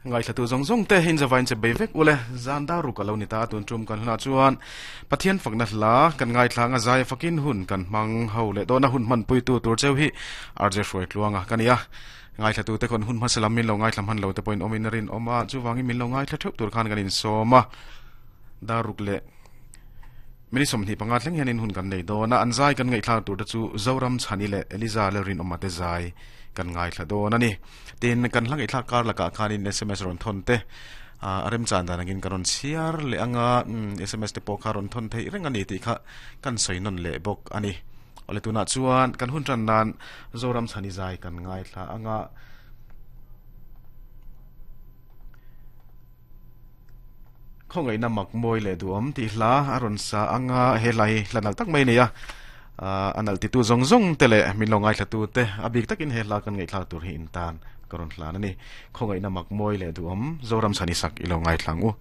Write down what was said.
Ngaithlatu zawng zawng te in zavain che bei vek ule. Zan dar ruk a lo ni ta a tun tum kan hunah chuan Pathian fakna hla kan ngaithla anga zai fakin hun kan hmang ho leh dawn a hun hmanpuitu tur cheu hi RJ Hruaitluanga ka ni a. Ngaithlatu te khawn hun hmasa lam min lo ngaithla hman lo te pawhin awmin a rinawm a, chuvangin min lo ngaithla theuh tur khan kan insawm a. Dar ruk leh Minute 25 thleng hianin hun kan nei dawn a, an zai kan ngaihthlak tur te chu Zoram Chhani leh Eliza Lalrinawma te zai kan ngaithla dawn a ni. Tin, kan hla ngaihthlak kar lakah khanin sms rawn thawn te a remchan dan angin ka rawn chhiar leh anga sms te pawh kha rawn thawn theih reng a ni tih kha kan sawi nawn leh bawk a ni. Awle tunah chuan kan hun tan nan Zoram Chhani zai kan ngaithla anga. Khawngaihna mak mawi leh duhawm tih hla a rawn sa ang a, he hla hi hla nalh tak mai a ni a, a nalh titu zawng zawng te leh min lo ngaithlatu te a bik takin he hla kan ngaihthlak tur hi in tan ka rawn hlan a ni. Khawngaihna mak mawi leh duhawm Zoram Chhani sak i lo ngaithla ang u.